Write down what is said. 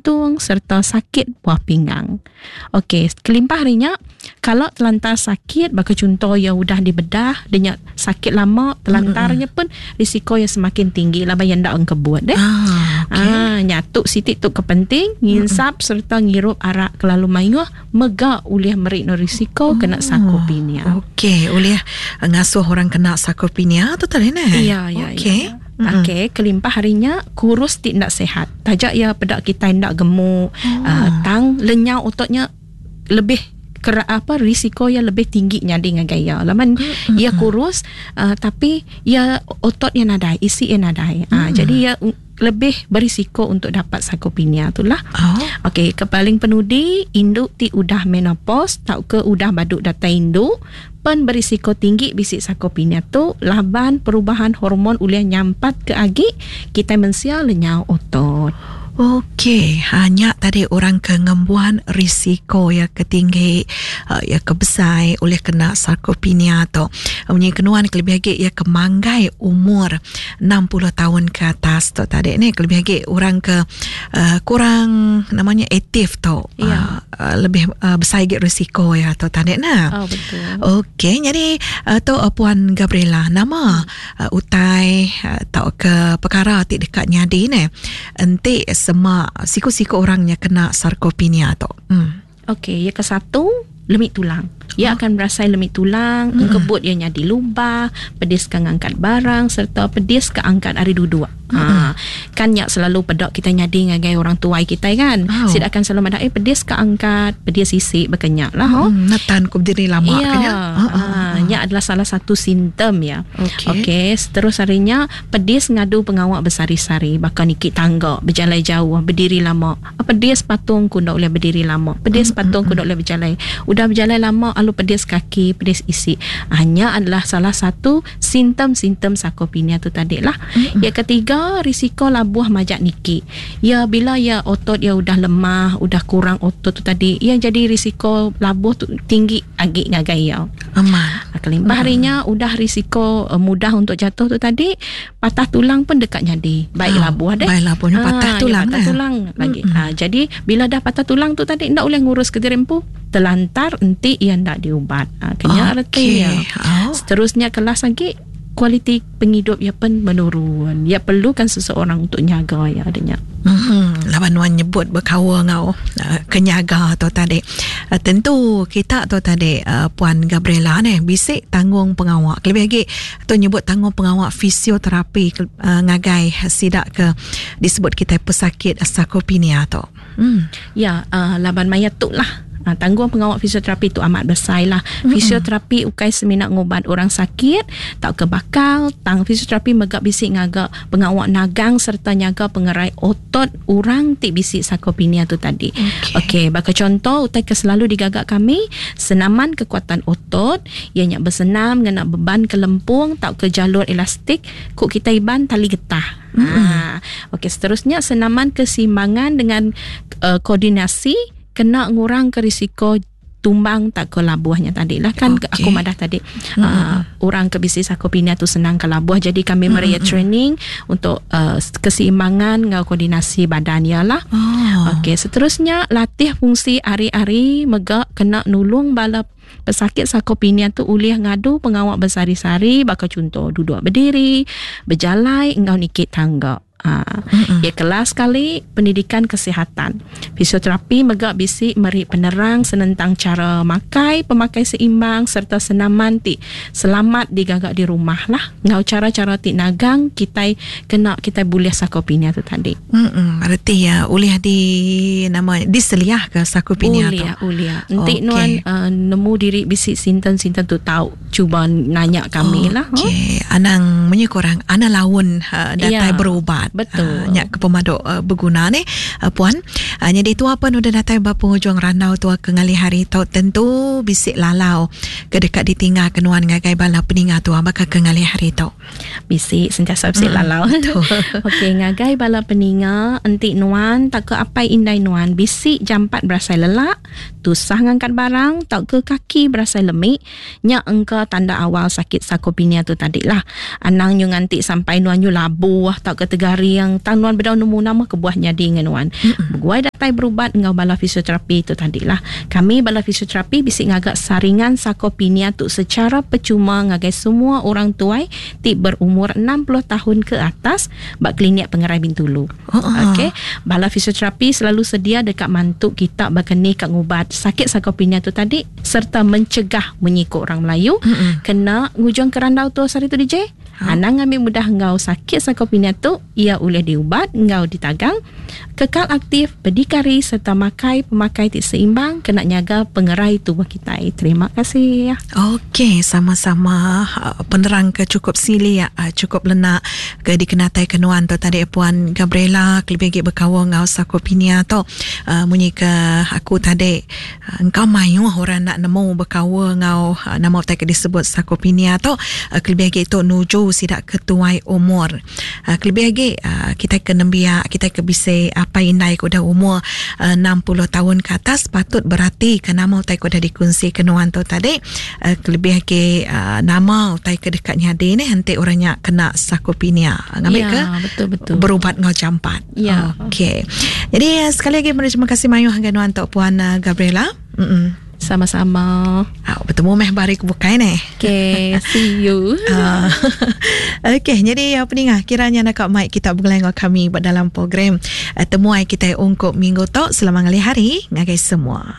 jantung serta sakit buah pinggang. Okey, kelimpah ari nya, kala telantar sakit baka chunto iya udah dibedah dia nya sakit lama telantar nya pun risiko iya semakin tinggi laban iya enda engkebut deh. Ah, okey. Ah, nya tu siti tu ke penting nginsap serta ngirup arak kelalu mayuh mega ulih meri no risiko kena sarkopenia. Okey, ulih ngasuh orang kena sarkopenia tu tadi neh. Iya, iya, Okey. iya. Okey, kelimpah ari nya kurus ti enda sihat. Taja iya peda kitai enda gemuk, oh. tang lenyau otot nya lebih kera apa risiko iya lebih tinggi nyadi ngagai iya. Laban mm-hmm. iya kurus uh, tapi iya otot iya nadai, isi iya nadai. Mm. Uh, jadi iya lebih berisiko untuk dapat sarkopenia tu lah. Oh. Okey, ke paling penudi indu ti udah menopause tauka udah badu datai indu pen berisiko tinggi bisi sarkopenia tu laban perubahan hormon ulih nyampat ke agi kitai mensia lenyau otot. Okey, ha nya tadi orang ke ngembuan risiko iya ke tinggi, iya ke besai ulih kena sarkopenia tu. Munyi kenuan kelebih agi iya ke manggai umur 60 taun ke atas tu tadi ni kelebih agi orang ke kurang nama nya aktif tu. Ya. Lebih besai agi risiko iya tu tadi nah. Oh betul. Okey, jadi tu Puan Gabriela nama utai tauka pekara ti deka nyadi neh enti sema siku-siku orang nya kena sarkopenia tu. Hmm. Okey, ya ke satu lemik tulang. Ia akan berasai lemik tulang, engkebut ia nyadi lubah, pedis ke ngangkat barang serta pedis ke angkat ari duduk. Ha, kan nya selalu peda kita nyadi ngagai orang tuai kitai kan. Oh. Sida akan selalu madah eh pedis ke angkat, pedis isi baka nya lah ho. Netan ku berdiri lama ya. ke nya. Ha, nya adalah salah satu simptom ya. Okey. Okey, terus hari nya pedis ngadu pengawa besari-sari baka niki tangga, bejalai jauh, berdiri lama. Pedis patung ku enda ulih berdiri lama. Pedis patung ku enda ulih bejalai. Udah bejalai lama alu pedis kaki, pedis isi. Ha, nya adalah salah satu simptom-simptom sarkopenia tu tadi lah. Yang ketiga, risiko labuh majak niki. Ya bila ya otot ya udah lemah, udah kurang otot tu tadi, ya jadi risiko labuh tu tinggi agi ngagai ya. Amat. Kelimpah hari nya udah risiko mudah untuk jatuh tu tadi, patah tulang pun deka nyadi. Baik Oh, labuh deh. Baik labuh nya patah Ah, tulang ya, patah eh. tulang lagi. Ah, jadi bila dah patah tulang tu tadi enda ulih ngurus ke diri empu, telantar enti iya enda diubat. Ah, kenya reti Okey. iya. Oh. Seterusnya kelas agi kualiti pengidup iya pen menurun. Iya perlukan seseorang untuk nyaga iya adanya. Laban nuan nyebut bekaul enggau ke nyaga tu tadi. Tentu kita tu tadi Puan Gabriela neh bisi tanggung pengawa kelebih agi tu nyebut tanggung pengawa fisioterapi ngagai sida ke disebut kitai pesakit sarkopenia tu. Ya, laban maya tu lah tanggung pengawa fisioterapi tu amat besai lah. Fisioterapi ukai semina ngubat orang sakit tauka bakal, tang fisioterapi mega bisi ngaga pengawa nagang serta nyaga pengerai otot orang ti bisi sarkopenia tu tadi. Okey. Okey, baka contoh utai ke selalu digaga kami, senaman kekuatan otot, iya nya besenam ngena beban ke lempung tauka jalur elastik, ku kitai Iban tali getah. Ha, okey, seterusnya senaman keseimbangan dengan koordinasi kena ngurangka risiko tumbang tak ke labuhnya tadi lah kan. Okey. Aku madah tadi orang ke bisi sarkopenia tu senang ke labuh, jadi kami meri training untuk keseimbangan enggau koordinasi badan ia lah. Oh. Okey, seterusnya latih fungsi ari-ari mega kena nulung bala pesakit sarkopenia tu ulih ngadu pengawa besari-sari baka contoh duduk berdiri, bejalai enggau niki tangga. Ha. Ya kelas sekali pendidikan kesihatan. Fisioterapi mega bisi meri penerang senentang cara makai, pemakai seimbang serta senaman ti selamat digaga di rumah lah. Enggau cara-cara ti nagang kitai kena kitai bulih sarkopenia tu tadi. Reti ya ulih di nama diseliah ke sarkopenia tu. Ulih, ulih. Enti Okey. nuan nemu diri bisi simptom-simptom tu tau cuba nanya kami lah. Okey, anang munyi kurang anang laun datai Ya, berubat. Betul. Nya ke pemadu beguna ni puan. Jadi tua pun udah datai ba penghujung randau tua ke ngalih hari tu, tentu bisi lalau ke dekat ditinggal ke nuan ngagai bala peninga tua baka ke ngalih hari tu. Bisi sentiasa bisi lalau. Okey, ngagai bala peninga, enti nuan tak ke apai indai nuan bisi jampat berasai lelak, tusah ngangkat barang tau ke kaki berasai lemik, nya engka tanda awal sakit sarkopenia tu tadi lah. Anang nyu nganti sampai nuan nyu labuh tau ke tegaring, tang nuan bedau nemu nama kebuah nyadi dengan nuan. Beguai datang datai berubat enggau bala fisioterapi tu tadi lah. Kami bala fisioterapi bisi ngaga saringan sarkopenia tu sechara pechuma ngagai semua orang tuai ti berumur 60 tahun ke atas ba Klinik Pengerai Bintulu. Okey, bala fisioterapi selalu sedia deka mantu kita baka ni ka ngubat sakit sarkopenia tu tadi serta mencegah munyi ku orang Melayu kena ngujungka randau tu sehari tu DJ. Anang ngambi mudah enggau sakit sarkopenia tu, iya ulih diubat enggau ditagang. Kekal aktif, bedikari sereta makai pemakai ti seimbang kena nyaga pengerai tubuh kitai. Terima kasih. Okey, sama-sama penerang ke chukup silik, chukup lenak ke dikenataika nuan tu tadi Puan Gabriela kelebih agi bekaul enggau sarkopenia tu. Munyi ke aku tadi Engka mayuh orang enda nemu bekaul enggau nama utai ke disebut sarkopenia tu kelebih agi tu nuju sida ke tuai umur. Kelebih agi kitai ke nembiak, kitai ke bisi apai indai ke udah umur 60 taun ke atas patut beratika nama utai ke udah dikunsika nuan tu tadi kelebih agi nama utai ke deka nyadi neh enti orang nya kena sarkopenia ngambika ya, betul betul. berubat enggau jampat. Ya. Okey. Jadi eh, sekali lagi meri terima kasih mayuh ngagai nuan tu Puan eh, Gabriela. Mm. Sama-sama. Ah, bertemu meh ba hari ke bukai neh. Okay, see you. Uh, Okey, jadi apa ni ngah kiranya nak mai kita begulai enggau kami ba dalam program uh, temuai kita ungkup minggu tu selamat ngalih hari ngagai semua.